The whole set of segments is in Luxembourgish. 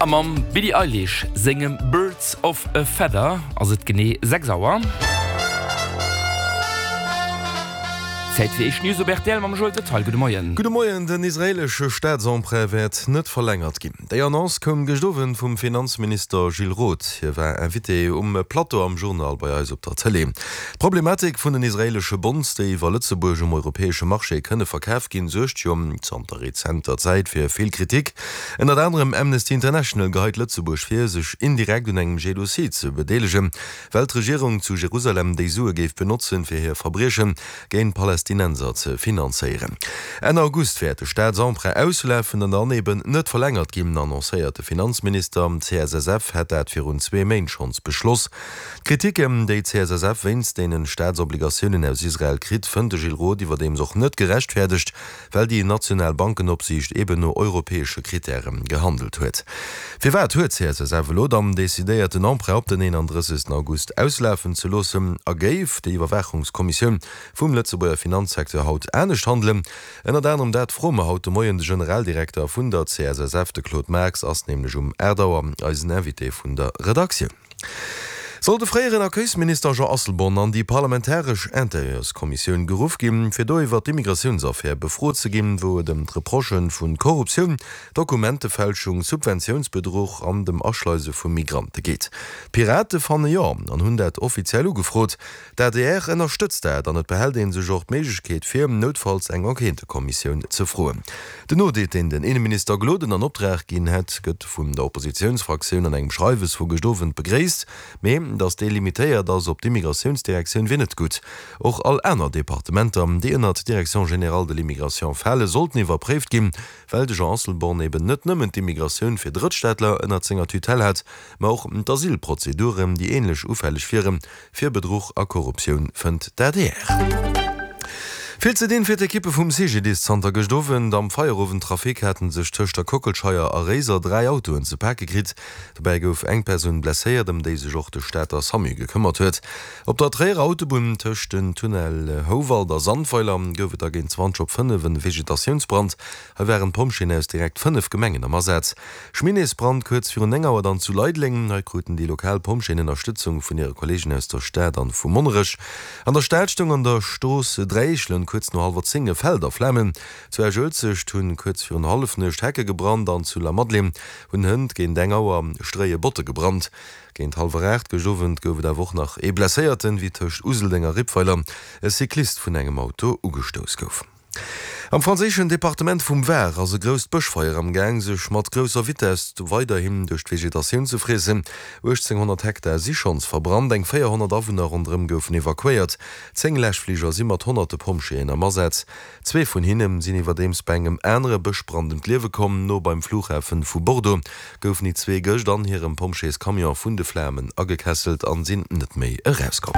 A mam Billie Eilish sengem Birds of a Feather ass et genee 6 Auer. Zäit fir éischt News op rtl mam Joël Detaille. Gudde Moien. Gudde Moien. Den israeelesche Staatsemprunt wäert net verlängert ginn. Déi Annonce koum gëscht Owend vum Finanzminister Gilles Roth. Hie war Invité um Plateau am Journal bei eis op der Tëlee. D'Problematik vun den israeelesche Bonds, déi iwwer Lëtzebuerg um europäesche Marché kënne verkaf ginn, suergt jo zanter rezenter Zäit fir vill Kritik. Ënnert anerem Amnesty International geheit Lëtzebuerg vir, sech indirekt un engem Genozid ze bedeelegen, well d'Regierung zu Jerusalem déi Sue géif benotzen, fir hir Verbrieche géint Palästinenser ze finanzéieren. Enn August wäert de Staatsemprunt auslafen an dann eben net verlängert ginn, annoncéiert de Finanzminister. D'CSSF hätt dat virun zwee Méint schonns beschloss. D'Kritiken, déi d'CSSF wéinst deenen Staatsobligatiounen aus Israel kritt, fënnt de Gilles Roth iwwerdeems och net gerechtfäerdegt, well déi national Bankenopsiicht eben no europäesche Krittäre gehandelt huet. Firwat huet d'CSSF elo dann decidéiert, den Emprunt op den 31 August auslafen ze loossen? A géif déi Iwwerwaachungskommissioun vum Lëtzebuerger Finanzsecteur haut anescht handelen? Ënnert anerem dat froe mer haut de Moien de Generaldirekter vun der CSSF. De Claude Marx ass nämlech um 8 Auer eisen Invité vun der Redaktioun. Soll de fréieren Accueilsminister Jean Asselborn an déi parlamentaresch Intérieurskommissioun geruff ginn, fir do iwwer d'Immigratiounsaffär befrot ze ginn, wou et ëm d'Reprochë vu Korruptioun, Dokumentefälschung, Subventiounsbedruch an dem Aschleise vu Migrante geet? D'Pirate fanne jo an hunn dat offiziell ugefrot. D'adr ënnerstëtzt dat an et behält ee sech och d'Méiglechkeet vir, noutfalls eng Enquêtëkommissioun ze froen. Den Audit, deen den Inneminister Gloden an Optrag ginn hätt, gëtt vun der Oppositiounsfraktioun an engem Schreiwes vu gëscht Owend begréisst. Mee datt dee limitéiert ass op d'Immigratiounsdirektioun wier net gutt. Och all aner Departementer, déi ënnert d'Direction générale de l'immigration fale, sollten iwwerpréift ginn, well de Jean Asselborn eben net nëmmen d'Immigratioun fir Drëttstaatler ënnert senger Tutelle hat, ma och d'Asylprozeduren, déi änlech ufälleg wieren. Fir Bedruch a Korruptioun, fënnt d'ADR. Vill ze dinn fir d'Ekippe vum CGDIS. Zanter gëscht Owend am Feierowendtrafic haten sech tëscht der Kockelscheier a Réiser 3 Autoen ze pake kritt. Dobäi gouf eng Persoun blesséiert, ëm déi sech och de Stater Samu gekëmmert huet. Op der Tréierer Autobunn tëscht den Tunnel Houwald a Sandweiler gouf et da géint 20 op 5 en Vegetatiounsbrand. Hei waren d'Pompjeeën aus direkt 5 Gemengen am Asaz. Chemineesbrand kuerz virun 9 Auer dann zu Leideleng. Hei kruten déi lokal Pompjeeën Ënnerstëtzung vun hire Kolleegen aus der Stad an vu Monnerech. An der Stad stoung an der Strooss Dräiechelen kuerz no hallwer 10 e Feld a Flamen. Zu Esch-Uelzecht hunn kuerz virun Hallefnuecht Hecke gebrannt an zu Lamadelaine hunn hënt géint eng Auer stréie Botte gebrannt. Géint hallwer 8 gëscht Owend gouf et awer och nach ee Blesséierten, wéi tëscht Useldeng a Rippweiler e Cyclist vun engem Auto ugestouss gouf. Am franséischen Departement vum Var ass e grousst Bëschfeier am Gaang, sech mat grousser Vitess weiderhin duerch d'Vegetatioun ze friessen. 1.800 Hektar si schonns verbrannt, eng 400 Awunner ronderëm goufen evakuéiert. 10 Läschfliger si mat honnerte Pompjeeën am Asaz. Zwee vun hinne sinn iwwerdeems bei engem anere Bëschbrand ëm d'Liewe komm. No beim Flughafen vu Bordeaux goufen déi zwee gëscht an hirem Pompjeescamion vun de Flamen agekesselt an sinn net méi erauskomm.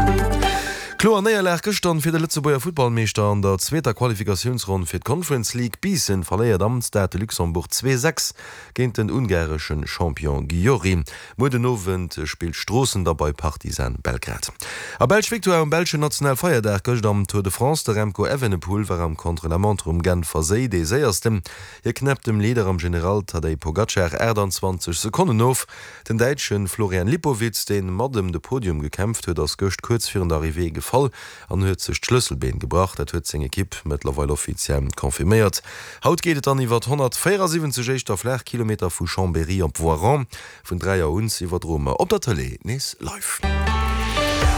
Kloer Néierlag gëschtern fir de Lëtzebuerger Futtballmeeschter an der zweeter Qualifikatiounsronn fir d'Conference League. Biissen verléiert am Stade de Luxembourg 2, 6 géint den ungareschen Champion Gyori. Muer den Owend spillt Stroossen da bei Partizan Belgrad. A Belsch Victoire um belschen Nationalfeierdag gëscht am Tour de France. De Remco Evenepoel war am Contre-la-montre um Genfer Séi dee séiersten. Hie knäppt dem Leader am General Tadej Pogacar 28 Sekonnen of. Den Däitsche Florian Lipowitz, dee mat ëm de Podium gekämpft huet, ass gëscht kuerz virun der Arrivée gefall an huet sech d'Schlësselbeen gebrach. Dat huet seng Ekipp mëttlerweil offiziell confirméiert. Haut geet et dann iwwert 174 éischter Flaachkilometer vu Chambéry op Voiron. Vun 3 Auer un iwwerdroe mer op der Tëlee nees live.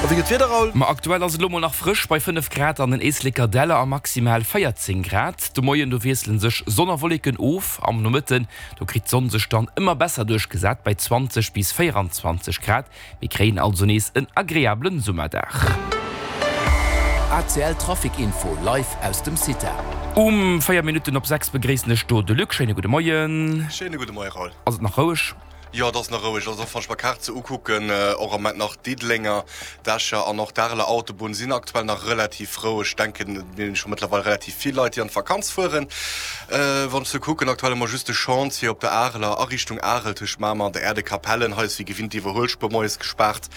A wéi gëtt d'Wieder, Raoul? Ma aktuell ass et elo mol nach frësch bei 5 Grad an den Éisleker Däller a maximal 14 Grad. De Moien do wiessele sech Sonn a Wolleken of, am Nomëtten do kritt d'Sonn sech dann ëmmer besser duerchgesat bei 20 bis 24 Grad. Mir kréien also nees en agreablen Summerdag. ACL Trafic Info live aus dem CITA. Um 4 Minutten op 6 begréissen ech do de Luc. Schéine gudde Moien. Schéine gudde Moie Raoul. Ass et nach roueg? Jo, et ass nach roueg. Also och wann ech mer d'Kaart sou ukucken, och am Moment nach Diddelenger, d'Escher an och d'Areler Autobunn sinn aktuell nach relativ roueg. Ech denken, et sinn scho mëttlerweil relativ vill Leit, déi an d'Vakanz fueren. Wann ech sou kucken, aktuell hu mer just de Chantier op der Areler a Richtung Arel tëscht Mamer an der Äerdekapellen. Hei ass wéi gewinnt d'Iwwerhuelspuer moies gespaart.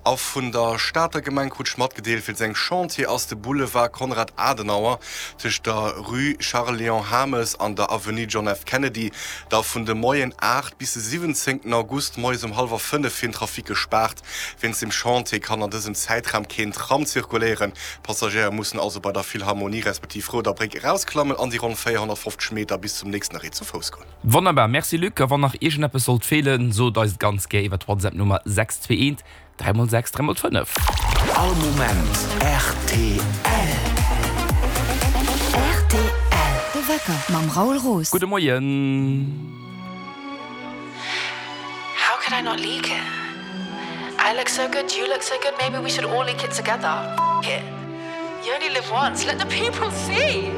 A vun der Stater Gemeng krut ech matgedeelt, wéinst engem Chantier ass de Boulevard Konrad Adenauer tëscht der Rue Charles Léon Hames an der Avenue John F. Kennedy da vun de Moien 8 bis de 17 August moies um hallwer 5 fir den Trafic gespaart. Wéinst dem Chantier kann an dësem Zäitraum keen Tram zirkuléieren. D'Passagéier mussen also bei der Philharmonie respektiv Rouder Bréck erausklammen an déi ronn 450 Meter bis zum nächsten Arrêt zu Fouss goen. Wonnerbar, merci Luc. A wann nach iergendeppes sollt feelen, sot eis et ganz gär iwwer d'WhatsApp-Nummer 621 3 mol 6, 3 mol 5. All Moment rtl. Rtl, De Wecker mam Raoul Roos. Gudde Moien. How could I not leak it? I look so good, you look so good, maybe we should all leak it together. F it. You only live once, let the people see!